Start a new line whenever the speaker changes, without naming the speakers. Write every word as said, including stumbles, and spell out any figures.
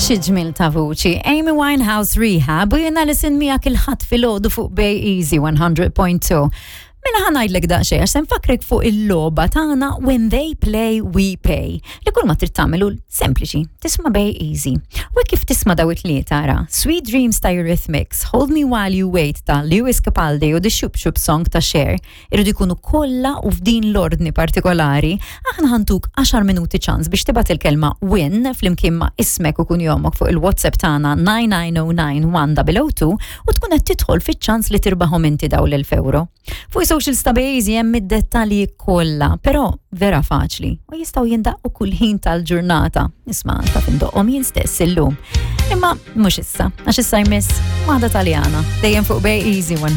Xi ġmiel ta' vuċi. Amy Winehouse, "Rehab", u jiena Alison miegħek il-Ħadd filgħodu fuq Bay Easy one hundred point two. Mela ħa ngħidlek daqsxejn għax se nfakkrek fuq il-logħba tagħna When They Play We Pay. Li kull ma trid tagħmlu sempliċi, tisma' Bay Easy. U kif tisma' daw it-tlieta ara, "Sweet Dreams" ta' Eurythmics, "Hold Me While You Wait" ta' Lewis Capaldi u "The Shoop Shoop Song" ta' Cher, irridu jkunu kollha u f'din l-ordni partikolari, aħna ħa ntuk għaxar minuti ċans biex tibgħat il-kelma "win" flimkien ma' ismek u kunjomok fuq il-WhatsApp tagħna nine nine zero nine one zero zero two u tkun qed tidħol fiċ-ċans li tirbaħhom inti daw l-elf euro. Fuq social ta' Bejzi hemm id-dettalji kollha, però vera faċli u jistgħu jindaqqu kull ħin tal-ġurnata. Isma' taf indoqqhom jien stess illum. Imma mhux issa, għax issa jmiss waħda Taljana, dejjem fuq Bay Easy one.